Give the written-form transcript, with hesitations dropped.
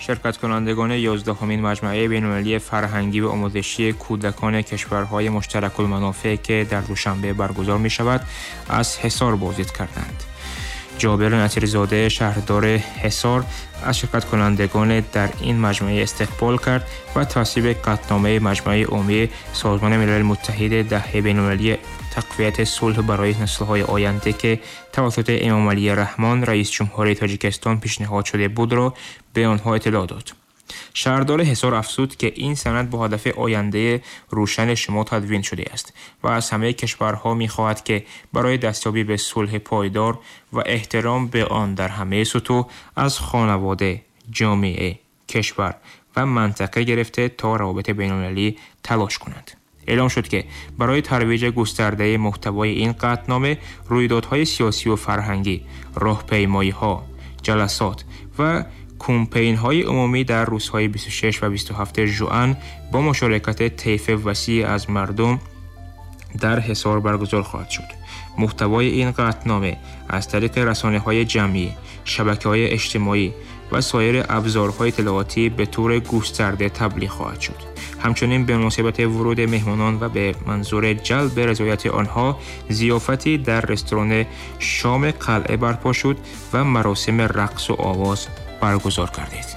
Ширкаткунандагони 11-умин маҷмаи байналмилалии фарҳангӣ ва омӯзишии кӯдакони кишварҳои муштаракулманофеъ, ки дар Душанбе баргузор мешавад, аз Ҳисор боздид карданд. Ҷобир Насирзода, шаҳрдори Ҳисор, аз ширкаткунандагон дар ин маҷмаъ истиқбол кард ва тасвиби қатъномаи Маҷмаи Умумии Созмони Милали Муттаҳид, Даҳаи байналмилалии тақвияти сулҳ барои наслҳои оянда, ки тавассути Эмомалӣ Раҳмон, раисҷумҳури Тоҷикистон, пешниҳод шуда будро ба онҳо иттилоъ дод. Шаҳрдори Ҳисор афзуд, ки ин санад бо ҳадафи ояндаи рӯшани шумо тадвин шудааст ва аз ҳамаи кишварҳо мехоҳад, ки барои дастёбӣ ба сулҳи пойдор ва эҳтиром ба он дар ҳамаи сутӯҳ, аз хонавода, ҷомеа, кишвар ва минтақа гирифта то равобити байналмилалӣ, талош кунанд. Эълом шуд, ки барои тарвиҷи густардаи мӯҳтавои ин қатънома рӯйдодҳои сиёсӣ ва фарҳангӣ, роҳпаймоиҳо, ҷаласот ва кумпейнҳои умумӣ дар рӯзҳои 26 ва 27 жуан бо мушорикати طیف васеъ аз мардум дар Ҳисор баргузор хоҳад шуд. Мӯҳтавои ин қатънома аз тариқи расонаҳои ҷамъӣ, шабакаҳои иҷтимоӣ ва соири абзорҳои иттилоотӣ ба таври густарда таблиғ хоҳад шуд. Ҳамчунин ба муносибати вуруди меҳмонон ва ба манзури ҷалби ризояти онҳо зиёфате дар ресторани Шоми Қалъа барпо шуд ва маросими рақсу овоз баргузор гардид.